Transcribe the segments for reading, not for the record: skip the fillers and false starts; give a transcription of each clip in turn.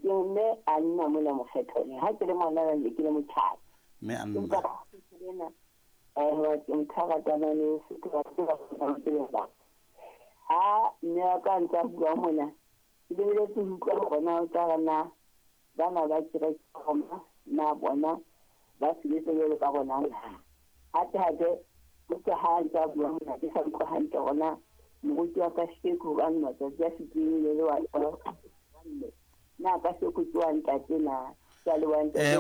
Ke mme a nna mona mokgethong. Ha ke le ngwana ne ke le motjhaki. Mme a nna. Empa ena eh motho a ratanang le Sotho ba tseba ba. Ha mme wa ka ntse a bua mona, ke lebeletse ho utlwa hore na o tla re na bana ba kereke Roma na bona ba sebetsa jwalo ka rona na. Hape hape utlwa ha ntse a bua mona ke sa utlwa hantle hore na moruti wa kasheko hobane matsatsi a fetileng le wa mme na kasheko ke wa ntate na ke a leboha ntate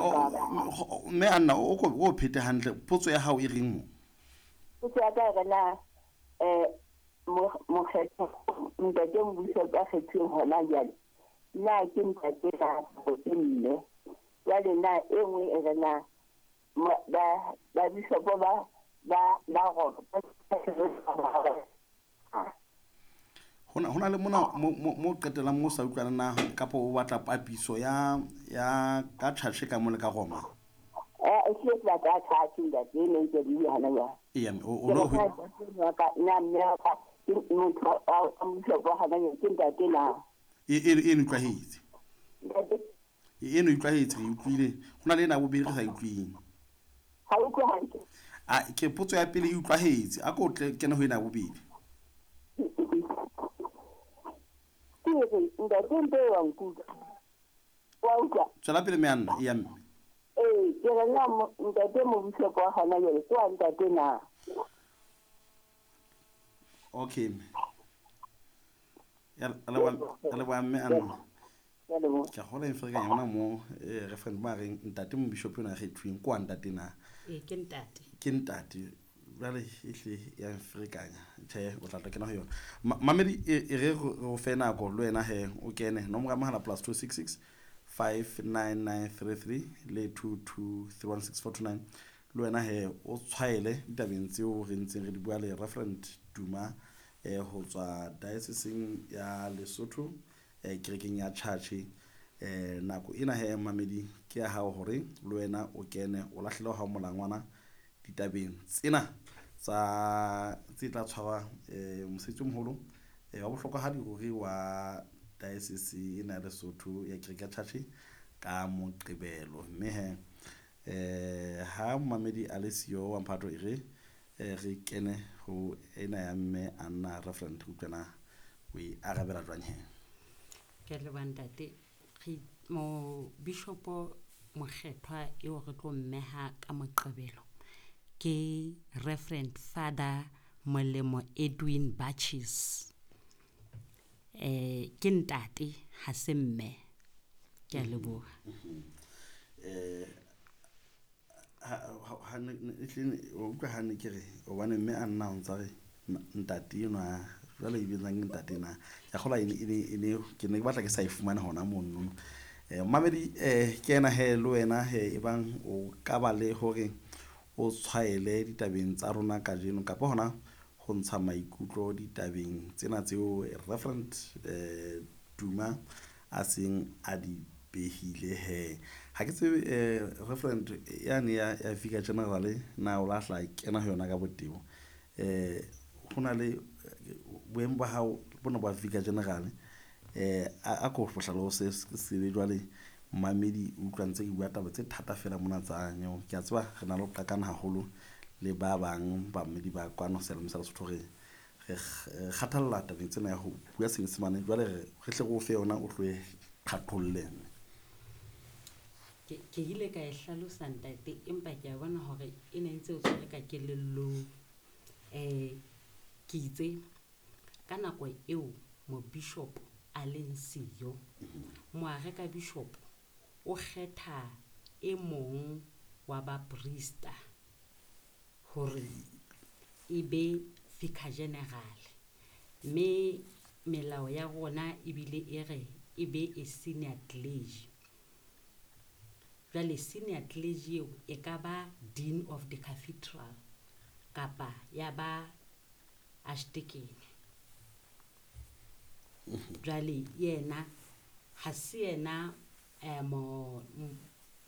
Mme Anna o ko o phete hantle potso ya hao e reng mo? Potso ya ka e re na mokgetho ntate mmuso ka kgethuweng hona jwale na ke ntate na kapa ke mme? Jwale na e nngwe e re na ba bishopo ba ba Roma Hona le mona mo qetellang mo sa utlwana na kapa o batla papiso ya ya ka tjhatjhe ka mo le ka Roma? Eh ke batla tjhatjhe ntate ne ntse di hana jwale. Eya o no ka na mme ka ke motho wa mmuso hana ke ntate na. E e utlwahetse. E no utlwahetse re utlwile. Ho na le ena bobedi re sa utlwing. Ha utlwe hantle. A ke potso ya pele e utlwahetse. A ko tle kene ho ena bobedi. Ke re ntate mpe wa nkutlwa. Wa utlwa? Tswela pele mme Anna, eya mme. Ee, ke re na ntate mobishopo wa hona jwale ke wa ntate na? Okay mme. Ya re leboha mme Anna. Ke a gola eng yona mo referendum ba reng ntate mobishopo yona kgethuweng ke wa ntate na? Ee, ke ntate. Ke ntate. Jwale ehle ya mferekanya. Tjhe, o tla tla kena ho yona. Mamedi e re re fe nako le wena he o kene nomoro ya mohala +266 59933 le 22316429 le wena he o tshwaele ditabeng tseo re ntseng re di bua le Reverend Duma ho tswa dioceseng ya Lesotho kerekeng ya Church. Nako ena he mamedi ke ya hao hore le wena o kene o lahlele hao molangwana ditabeng tsena tsa tse tla tshwarwa mosebetsi o moholo wa bohlokwahadi ruri wa diocese ena ya Lesotho ya kereke ya Church ka Moqebelo. Mme he ha mamedi a le siyo wa mphato e re re kene ho ena ya mme Anna Reverend re utlwana o e arabela jwang he? Ke a leboha ntate. Re mo bishopo mokgethwa eo re tlo mmeha ka Moqebelo ke Reverend Father Molemo Edwin Batches. Ke ntate ha se mme. Ke a leboha. Ha ne utlwa ha ne ke re hobane mme a nna o ntsa re ntate enwa jwale e bitsang ntate na. Ke a kgolwa e ne ke ne ke batla ke sa e fumane hona mono. Mamedi ke ena he le wena he ebang o ka ba le hore o tshwaele ditabeng tsa rona kajeno kapa hona ho ntsha maikutlo ditabeng tsena tseo Reverend Duma a seng a di behile he. Ha ke tsebe Reverend yane ya Vicar General na o lahla kena ho yona ka botebo. Ho na le boemo ba hao bona ba Vicar General a ko hlalose se jwale mamedi o utlwa ntse ke bua taba tse thata fela mona tsa nyeo. Ke a tseba re na le ho qakana haholo le ba bang bamedi ba kwano seyalemoyeng sa Lesotho re kgathalla tabeng tsena ya ho bua Senyesemane. Jwale re hle re o fe yona o tlo e qhaqholle. Ke ile ka e hlalosa ntate, empa ke a bona hore e ne ntse o tshwere ka kelellong. Ke itse ka nako eo mobishopo a leng siyo, moareka bishop o kgetha e mong wa baprista hore e be vicar general. Mme melao ya rona ebile e re e be e senior clergy. Jwale senior clergy eo e ka ba dean of the cathedral kapa ya ba archdeacon. Jwale yena ha se yena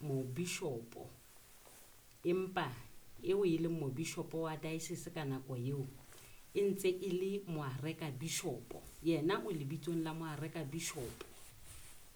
mobishopo, empa eo e leng mobishopo wa diocese ka nako eo e ntse e le moareka bishopo. Yena o lebitsong la moareka bishopo.